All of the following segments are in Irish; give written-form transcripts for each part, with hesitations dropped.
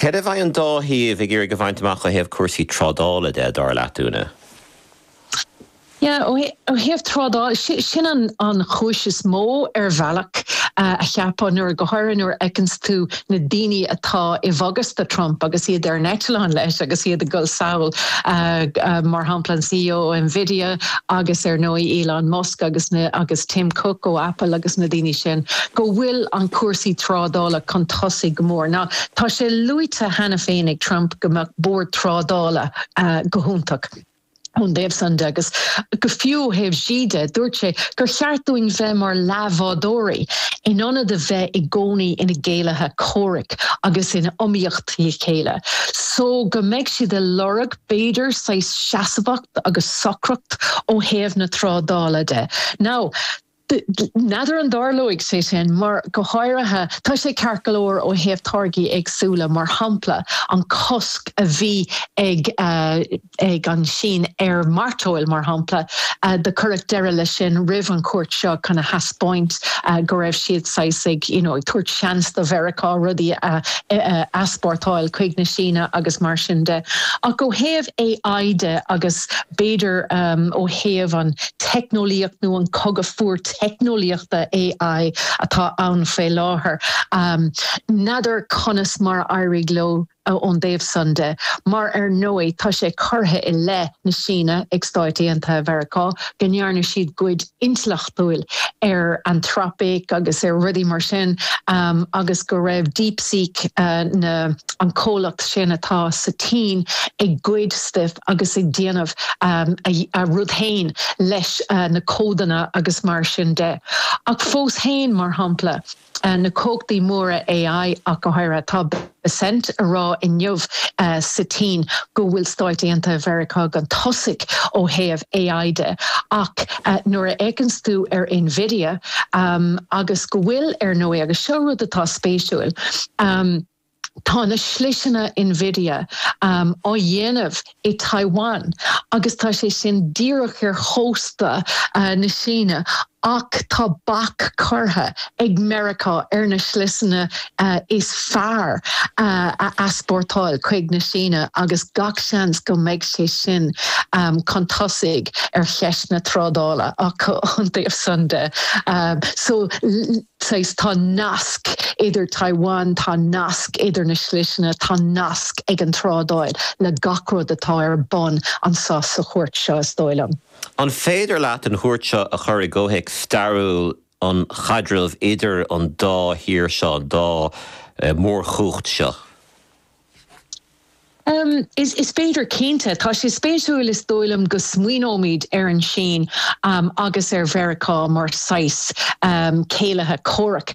Céard a bheidh an dá thaobh ag iarraidh a bhaint amach ó thaobh cúrsaí trádála de, dar leat, Úna? Yeah, ó thaobh trádála, sin an chúis is mó ar bhealach a cheapfá nuair, go háirithe nuair a fheiceanns tú na daoine atá i bhfogas do Trump agus iad ar an eitleán leis agus iad ag dul sall, mar shampla an CEO ó Nvidia agus ar ndóigh Elon Musk agus na agus Tim Cook ó Apple agus na daoine sin, go bhfuil an cúrsaí trádála chun tosaigh go mór. Now, tá sé luaite cheana féin ag Trump go mbeadh bord trádála go hiontach. ón dtaobh san de, agus go fiú ó thaobh Xi de, dúirt sé gur cheart dúinn bheith mar leathbhádóirí in ionad a bheith i gcónaí ina gcéilithe comhraic agus in iomaíocht le chéile. So go mbeidh siad ag lorg, b'fhéidir, saghas seasmhacht agus socracht ó thaobh na trádála de. Now, N'fheadar an dtarlóidh sé sin, mar go háirithe, tá sé ceart go leor ó thaobh táirgí éagsúla, mar shampla an cosc a bhí ag ag an Sín ar mhairteoil, mar shampla, do cuireadh deireadh leis sin roimh an chuairt seo chun a thaispeáint go raibh siad saghas ag you know ag tabhairt seans do Mheiriceá rudaí a easpórtáil chuig na Síne agus mar sin de. Ach ó thaobh AI de agus b'fhéidir ó thaobh an teicneolaíocht nó an cogadh fuar teicneolaíochta AI atá ann faoi láthair. N'fheadar conas mar a éireoidh leo ón dtaobh san de, mar ar ndóigh tá sé curtha i leith na Síne ag Stáit Aontaithe Mheiriceá go ndearna siad goid intleachtúil ar Anthropic agus ar rudaí mar sin agus go raibh DeepSeek, na an comhlacht sin atá sa tSín ag goid stuif agus ag déanamh a rud féin leis na códanna agus mar sin de. Ach fós féin, mar shampla, na cumhachtaí móra AI ach go háirithe, tá Bessent ag rá inniu sa tSín go bhfuil Stáit Aontaithe Mheiriceá chun tosaigh ó thaobh AI de ach nuair a fhéachanns tú ar Nvidia agus go bhfuil, ar ndóigh, agus seo rud atá spéisiúil, Tá na sliseanna Nvidia á dhéanamh i Taiwan agus tá sé sin díreach ar chósta na Síne ach tá bac curtha ag Meiriceá ar na sliseanna is fearr a easpórtáil chuig na Síne agus gach seans go mbeidh sé sin chun tosaigh ar cheist na trádála ach ón dtaobh san de. So. Saghas, tá nasc idir Taiwan, tá nasc idir na sliseanna, tá nasc ag an trádáil le gach rud atá ar bun anso sa chuairt seo, is dóigh liom. An féidir leat an chuairt seo a chur i gcomhthéacs stairiúil an chaidrimh idir an dá thír seo, an dá mhórchumhacht seo? Is féidir, cinnte. Tá sé spéisiúil, is dóigh liom, go smaoineoimid ar an Sín agus ar Mheiriceá mar saghas céilithe comhraic.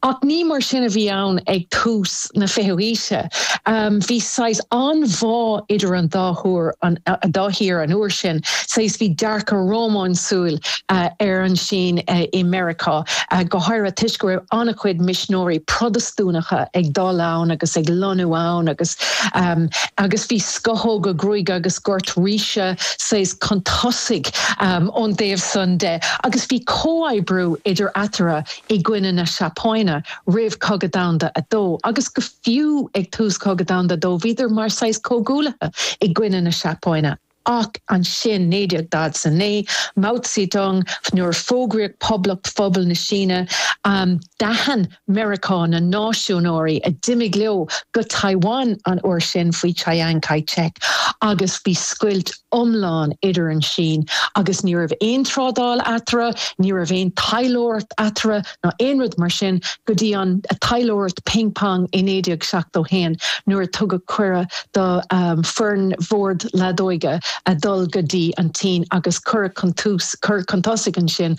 Ach ní mar sin a bhí ann ag tús na fichiú haoise. Bhí saghas an-bhá idir an dá thúr, an dá thír an uair sin. Saghas bhí dearcadh rómánsúil ar an Sín i Meiriceá, go háirithe toisc go raibh an-chuid misneoirí Protastúnacha ag dul ann agus ag lonnú ann agus agus bhí scothóga gruaige agus gort ríse saghas chun tosaigh ón dtaobh san de agus bhí comhoibriú idir eatarthu i gcoinne na Seapáine roimh Cogadh Domhanda a Dó agus go fiú ag tús Cogadh Domhanda a Dó bhíodar mar saghas comhghuaillithe i gcoinne na Seapáine. Ach ansin, 1949, Mao Zedong, nuair a fógraíodh Poblacht Phobal na Síne, d'aithin Meiriceá na náisiúnóirí a d'imigh leo go Taiwan an uair sin faoi Chiang Kai-shek agus bhí scoilt iomlán idir an Sín agus ní raibh aon trádáil eatarthu, ní raibh aon taidhleoireacht eatarthu ná aon rud mar sin go dtí an taidhleoireacht ping pong i 1971 nuair a tugadh cuireadh do foireann bhord leadóige a dhul go dtí an tSín agus cuireadh chun tús, cuireadh chun tosaigh ansin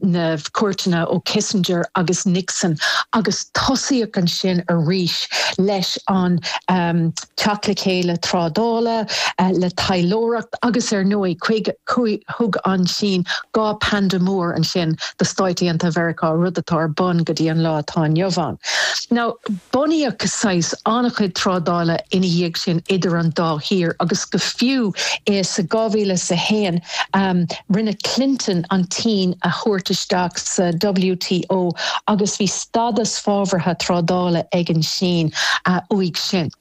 na cuairteanna ó Kissinger agus Nixon agus tosaíodh ansin arís leis an teacht le chéile trádála. bia, le taidhleoireacht agus ar ndóigh thug an tSín 2 panda mór ansin do Stáit Aontaithe Mheiriceá, rud atá ar bun go dtí an lá atá inniu ann. Now, bunaíodh saghas an-chuid trádála ina dhiaidh sin idir an dá thír agus go fiú sa 2001 rinne Clinton an tSín a thabhairt isteach sa WTO agus bhí stádas fabhraithe trádála ag an tSín uaidh sin.